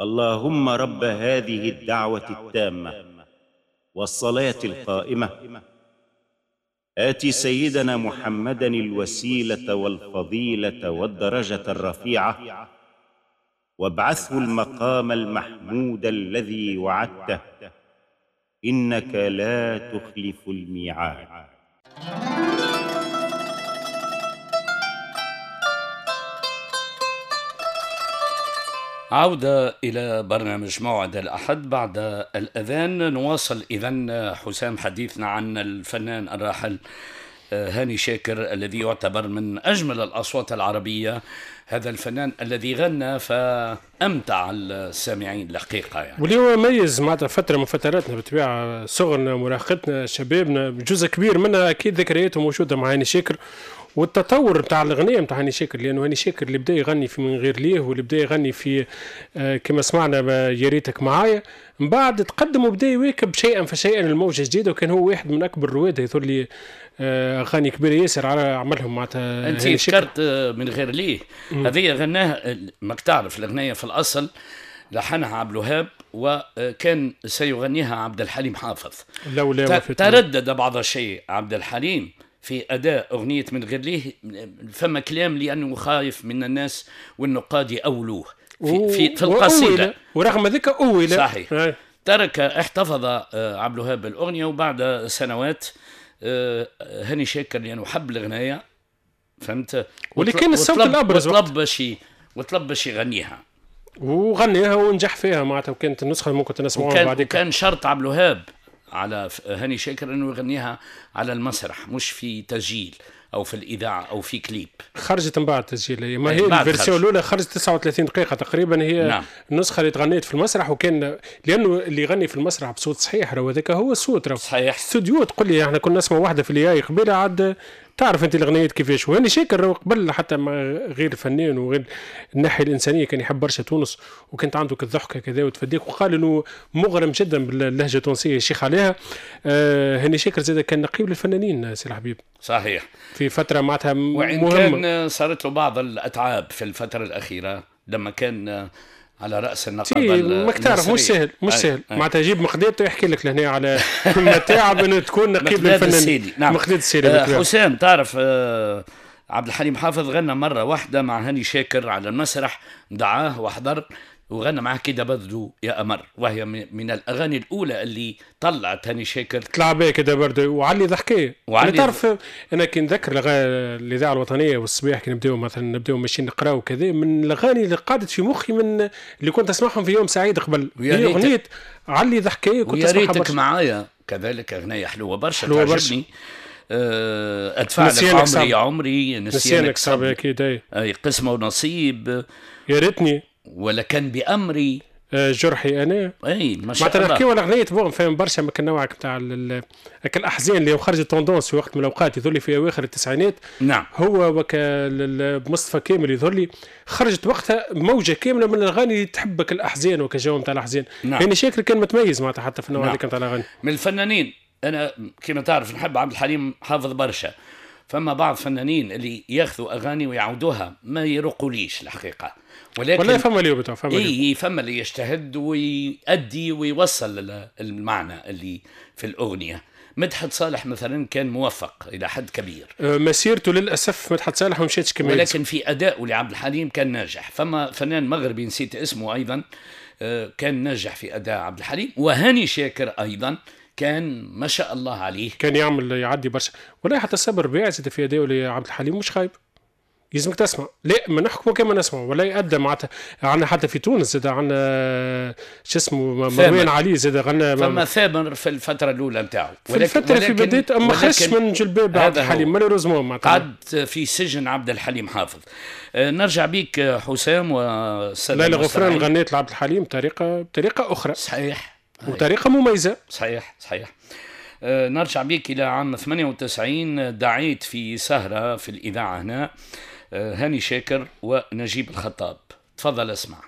اللهم رب هذه الدعوة التامة والصلاة القائمة، آتِ سيدنا محمدًا الوسيلة والفضيلة والدرجة الرفيعة، وابعثه المقام المحمود الذي وعدته، إنك لا تخلف الميعاد. عودة إلى برنامج موعد الأحد بعد الأذان. نواصل إذن حسام حديثنا عن الفنان الراحل هاني شاكر الذي يعتبر من أجمل الأصوات العربية، هذا الفنان الذي غنى فأمتع السامعين الحقيقة يعني. واللي هو ميز معناتها فترة من فتراتنا بالطبيعة، صغرنا، مراهقتنا، شبابنا، جزء كبير منها أكيد ذكرياته موجودة مع هاني شاكر، والتطور نتاع الاغنية نتاع هاني شاكر، لانه هاني شاكر اللي بدا يغني في من غير ليه، واللي بدا يغني في كما سمعنا يا ريتك معايا، من بعد تقدم وبدا يواكب شيئا فشيئا الموجه الجديدة، وكان هو واحد من اكبر الرواد يظهر لي اغاني كبيرة ياسر على عملهم معناتها. انت ذكرت من غير ليه، هذه غناها، ماك تعرف الاغنية في الاصل لحنها عبد الوهاب وكان سيغنيها عبد الحليم حافظ، لولا تردد بعض الشيء عبد الحليم في أداء أغنية من غير ليه، فما كلام لأنه خايف من الناس والنقاد يأولوه في القصيدة، ورغم ذلك أول. صحيح. ترك، احتفظ عبد الوهاب بالأغنية، وبعد سنوات هاني شاكر لأنه حب الأغنية، فهمت، واللي كان الصوت الأبرز، وطلب باش يغنيها، وغنيها ونجح فيها معناتها، وكانت النسخة ممكن تسمعوها بعد. كان شرط عبد الوهاب على هاني شاكر انه يغنيها على المسرح، مش في تسجيل او في الاذاعة او في كليب. خرجت من بعد تسجيل، ما هي ال version الاولى خرجت 39 دقيقة تقريبا، هي نعم. النسخة اللي تغنيت في المسرح، وكان لانه اللي يغني في المسرح بصوت صحيح راهو هذاك هو الصوت، راهو صحيح. استوديو تقول لي احنا كنا نسمع واحدة في الياي قبيلة، عاد تعرف انت الاغنيات كيفاش. وهاني شاكر قبل حتى غير فنان وغير الناحية الانسانية كان يحب برشا تونس، وكانت عنده كالضحكه كذا وتفديك، وقال انه مغرم جدا باللهجة التونسية الشيخ عليها. هاني شاكر زاد كان نقيب للفنانين سي الحبيب. صحيح. في فترة معناتها مهمة، وإن كان صارت له بعض الاتعاب في الفترة الاخيرة لما كان على راس النقابة. ماك تعرف مش سهل، مش سهل معناتها يجيب مقداد يحكي لك لهنا على متاعب انه تكون نقيب للفنانين. نعم. مقداد السيلي. حسام تعرف عبد الحليم حافظ غنى مرة واحدة مع هاني شاكر على المسرح، دعاه وحضر وغنى معاه كده بدو يا أمر، وهي من الأغاني الأولى اللي طلعت هاني شاكر. طلع بها كده بردو وعلي ضحكية. وعلي تعرف أنا كي نذكر الإذاعة الوطنية والصباح كي نبداو مثلا نبداو ماشيين نقراو وكذا، من الأغاني اللي قعدت في مخي من اللي كنت أسمعهم في يوم سعيد قبل، هي أغنية علي ضحكية كنت أسمعها برشا. ويا ريتك معايا كذلك أغنية حلوة برشا تعجبني. أدفع لك عمري يا عمري، نسيانك صعب أكيد. أي قسمة ونصيب، يا ريتني ولا كان بأمري جرحي أنا. أي ما شاء الله. نحكيو على أغنية bon فاهم برشا من النوع نتاع الأحزان اللي خرجت tendance في وقت من الأوقات، يظهر لي في أواخر التسعينات. نعم. هو وك مصطفى كامل يظهر لي خرجت وقتها موجة كاملة من الأغاني اللي تحبك الأحزان وكجو نتاع الأحزان. نعم. يعني شاكر كان متميز معناتها حتى في النوع نعم. هذاك نتاع الأغاني. من الفنانين أنا كما تعرف نحب عبد الحليم حافظ برشا، فما بعض فنانين اللي ياخذوا اغاني ويعودوها ما يرقوليش الحقيقة، ولكن والله فما اللي فما اي فما اللي يجتهد ويؤدي ويوصل المعنى اللي في الاغنية. مدحت صالح مثلا كان موفق الى حد كبير، مسيرته للاسف مدحت صالح ما مشاتش كما، ولكن في ادائه لعبد الحليم كان ناجح. فما فنان مغربي نسيت اسمه ايضا كان ناجح في اداء عبد الحليم، وهاني شاكر ايضا كان ما شاء الله عليه، كان يعمل يعدي برشا. ولا حتى صبر ربيع زاد في اداء لعبد الحليم مش خايب، يلزمك تسمع، لا ما نحكموا كما نسمع ولا يقدم معناتها. عندنا حتى في تونس زاد عندنا شو اسمه مروان علي زاد غنى، فما ثامر في الفترة الاولى نتاعو، في الفترة في بداية اما خرج من جلباب عبد الحليم malheureusement معناتها قعد في سجن عبد الحليم حافظ. نرجع بيك حسام والسادة ليلى غفران غنيت لعبد الحليم بطريقة اخرى. صحيح. وطريقة مميزة. صحيح صحيح. نرجع بك إلى عام 98، دعيت في سهرة في الإذاعة هنا هاني شاكر ونجيب الخطاب. تفضل اسمع.